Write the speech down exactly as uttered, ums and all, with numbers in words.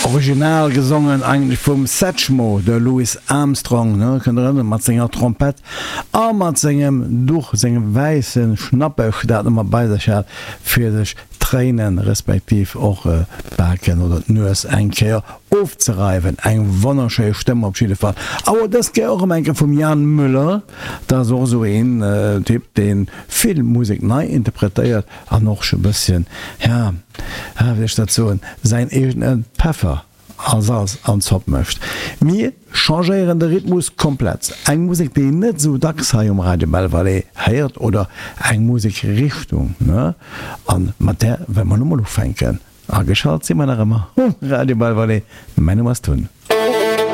Original gesongen eigentlech vum Satchmo, de Louis Armstrong, ne, kënnt der erënneren, mat senger Trompett a mat sengem Duch, sengem wäisse Schnappech, dat en ëmmer bei sech hat, fir sech d'Tréinen, respektiv och d'Baken oder d'Nues eng Kéier ofzereiwen. Eng wonnerschéi Stëmm op jidde Fall. Awer dës Kéier och erëm eng Kéier vum Jan Müller, dat ass och esou een Typ, dee vill Musek nei interpretéiert an och scho bësschen, ja, wéi soll ech dat soen, säin eegene Peffer a Salz an d'Zopp mécht. Mir changéieren de Rhythmus komplett. Eng Musek, déi een net esou dacks hei um Radio Belval héiert, oder eng Musekrichtung, ne? A mat där wëlle mer elo mol ufänken. Ageschalt si mer nach ëmmer um Radio Belval. Mäin Numm ass Tun.